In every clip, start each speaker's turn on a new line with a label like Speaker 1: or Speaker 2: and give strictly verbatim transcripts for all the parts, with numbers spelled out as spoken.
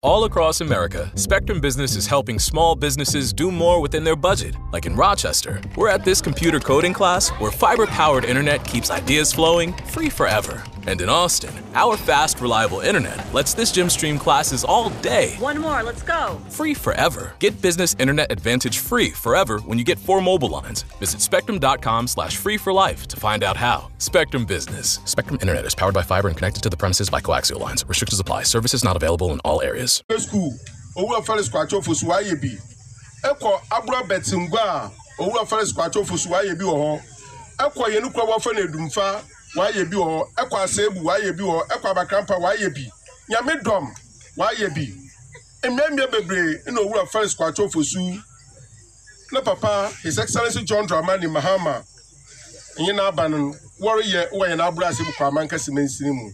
Speaker 1: All across America, Spectrum Business is helping small businesses do more within their budget. Like in Rochester, we're at this computer coding class where fiber powered internet keeps ideas flowing free forever. And in Austin, our fast, reliable internet lets this gym stream classes all day.
Speaker 2: One more, let's go.
Speaker 1: Free forever. Get business internet advantage free forever when you get four mobile lines. Visit spectrum.com slash free for life to find out how. Spectrum Business. Spectrum Internet is powered by fiber and connected to the premises by coaxial lines. Restrictions apply. Services not available in all areas.
Speaker 3: School, Owura Felix Kwakye Ofosu wayɛ bi. Ɛkɔ Abura Bɛtingua a, Owura Felix Kwakye Ofosu wayɛ bi wɔ hɔ. Ɛkɔ yɛn kura wɔfɛ no Edumfa, wayɛ bi wɔ hɔ. Ɛkɔ Aseebu, wayɛ bi wɔ hɔ. Ɛkɔ Abakrampa, wayɛ bi. Nyame Dɔm, wayɛ bi. Mmeammea bebree na Owura Felix Kwakye Ofosu ne papa, His Excellency John Dramani Mahama, nye n'aba no wɔreyɛ wɔ yɛn Abura Aseebu Kwaman Kɛse mansini mu.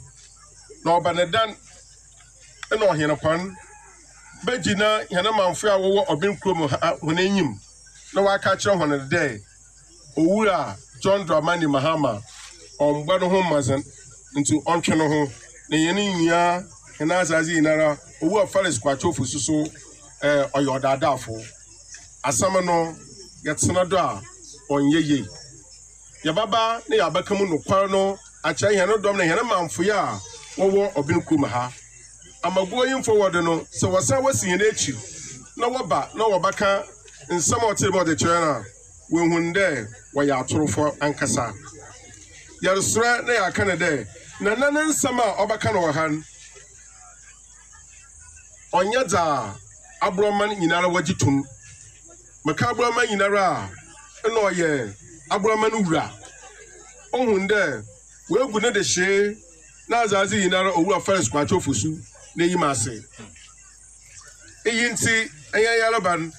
Speaker 3: Na ɔba ne dan na ɔhene kwan bɛgyina hɛn manfo a wɔwɔ ɔben kurom ha hɔn enyim na waka akyerɛ hɔn dɛ Owura John Dramani Mahama ɔmbɔ ne ho mmɔdzen, nti ɔntwe ne ho na yɛn nyinaa hɛn asase nyinara. Owura Felix Kwakye Ofosu so ɛɛ ɔyɛ ɔdaadaafo. Asɛm no yɛtena do a ɔnyɛ yie. Yɛbaba na yɛabɛka mu nokwar no akyerɛ hɛn dɔm na hɛn manfoe a wɔwɔ ɔben kurom ha. Ama going forward no, sɛ wɔsan wɔsi hɛn akyi na wɔba na wɔbɛka nsɛm a ɔte dɛ ɔde kyerɛ no a, wɔehun dɛ wɔyɛ atorofo ankasa. Yɛresrɛ na yɛaka no dɛ nana ne nsɛm a ɔbɛka no wɔ ha no ɔnyɛ dza aborɔman nyinara wɔgye tom. Meka aborɔman nyinara a, ɛna ɔyɛ aborɔman wura. Ohun dɛ woegu ne de hyee na asase nyinara Owura Felix Kwakye Ofosu n'enyim ase. Iyi nti ɛyɛ yareba no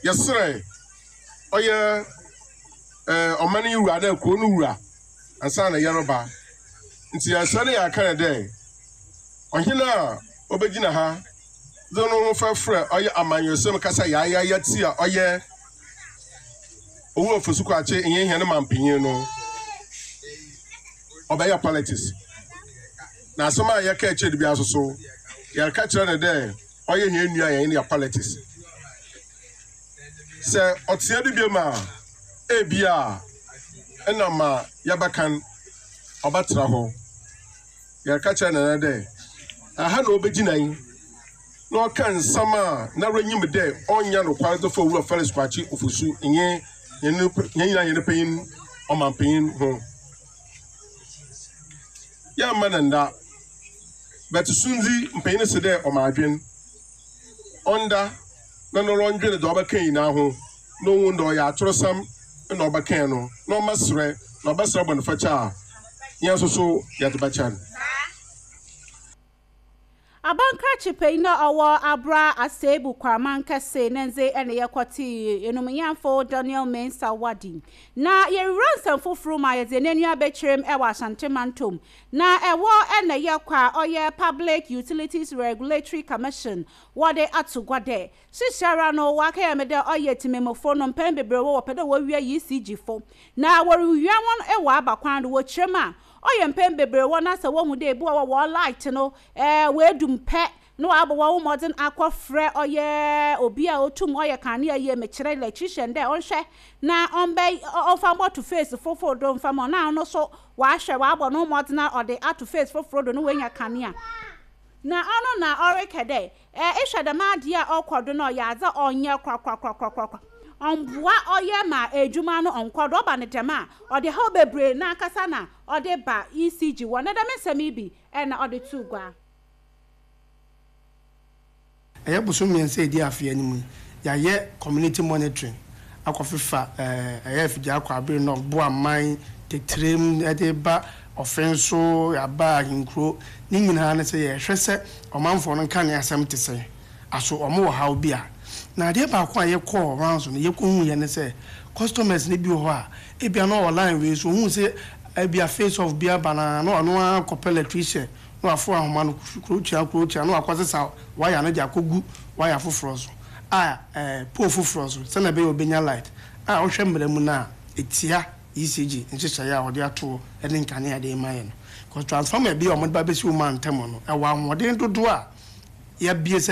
Speaker 3: yɛsrɛ ɔyɛ ɛɛ ɔman yi wura na kuro no wura ansa na yɛreba. Nti yɛsrɛ no, yɛaka no dɛ ɔhene a ɔbɛgyina ha de no ho fɛfrɛ ɔyɛ amanyɔsɛm kasa yaayaya ti a ɔyɛ Owura Ofosu Kwakye nyɛ hɛn mampanyin no, ɔbɛyɛ politics. Na asɛm a yɛka akyire de bi aso so, yɛreka kyerɛ no dɛ ɔyɛ hɛn nua, yɛn yɛ politics. Sɛ ɔtea bi bi ma ebi a ɛna ma yɛbɛkan ɔbɛtena hɔ. Yɛreka kyerɛ nana dɛ aha na ɔbɛgyina yi na ɔka nsɛm a na renyim dɛ ɔnyɛ nokware de fa Owura Felix Kwakye Ofosu nye yɛn nyinaa yɛn panyin ɔmanpanyin ho. Yɛmma ne nda bɛte sundzi mpanyin si dɛ ɔma adwen ɔnda na no ɔndwene dɛ ɔbɛka nyinaa ho na ohun dɛ ɔyɛ atorosɛm na ɔbɛka no na ɔma serɛ na ɔbɛsrɛ bɔ ne fakyɛ a, yɛn nso so yɛde bɛkyɛ no.
Speaker 4: Abankrakye panyin a ɔwɔ Abura Asebu Kwaman Kɛse ne ndze ɛna yɛkɔte enumnyamfo Daniel Mensa Wadi. Na yɛwura nsɛm foforɔ mu a, yɛdze n'ani abɛkyerɛm ɛwɔ Asante Mantom na ɛwɔ ɛna yɛkɔ a ɔyɛ Public Utilities Regulatory Commission wɔde ato gua dɛ hyehyɛra no wakɛyɛ me dɛ ɔyɛ tìmɛmufo no mpɛn bebree wɔ wɔpɛ dɛ wɔwia E C G fo na wɔrewia wɔn ɛwɔ aba kwan do. Wɔkyerɛ mu a ɔyɛ mpɛn bebree wɔ na sɛ wɔhu dɛ ebi wɔ wɔ light no ɛɛ wɔadum pɛ na wabɔ wɔn mmɔden akɔfrɛ ɔyɛ obi a otum ɔyɛ kanea yie, mekyerɛ electrician, dɛ ɔnhwɛ na ɔmbɛ ɔmfa mbɔto phase foforɔ do mfa ma ɔna ɔno so wahwɛ wabɔ no mmɔden a ɔde ato phase foforɔ do na wanya kanea. Na ɔno na ɔrekɛ dɛ ɛɛ ehwɛ dɛm adeɛ a ɔkɔ do no, ɔyɛ adze a ɔnyɛ korakorakorakorakora, ɔmboa ɔyɛ ma edwuma no ɔnkɔ do. Ɔba ne dɛm a, ɔde haw bebree n'ankasa na ɔde ba E C G wɔ ne dɛm nsɛm yi bi ɛna ɔde to gua.
Speaker 5: Ɛyɛ bosom mmiɛnsa edi afe anim yi, yɛayɛ community monitoring akɔfefa ɛɛ ɛyɛ afidie akɔ abere na ɔbo aman tetirem ɛde ba ɔfɛn so yaba ahenkuro ne nyinaa ne sɛ yɛhwɛ sɛ ɔmanfoɔ no nka ne asɛm te sɛ aso ɔmo wɔ haw bi a. Na adeɛ baako a yɛkɔɔ rounds no yɛkɔhu yɛ ne sɛ customers ne bi wɔ hɔ a ebia na ɔwɔ line wei so, ohun sɛ ebia phase off bi aba na na ɔno ara kɔpɛ electrician na wafo ahoma no kurotia kurotia na wakɔsesa waya no de akɔgu waya foforɔ so a ɛɛ pole foforɔ so sɛnɛ ɛbɛyɛ obenya light a. Ɔhwɛ mmerɛ mu no a etia E C G nhyehyɛeɛ a wɔde ato ne nkanea de ma yɛ no, because transformer bi a wɔde ba bɛsi wɔn ntam no ɛwɔ ahoɔden dodoɔ a Yɛabie sɛ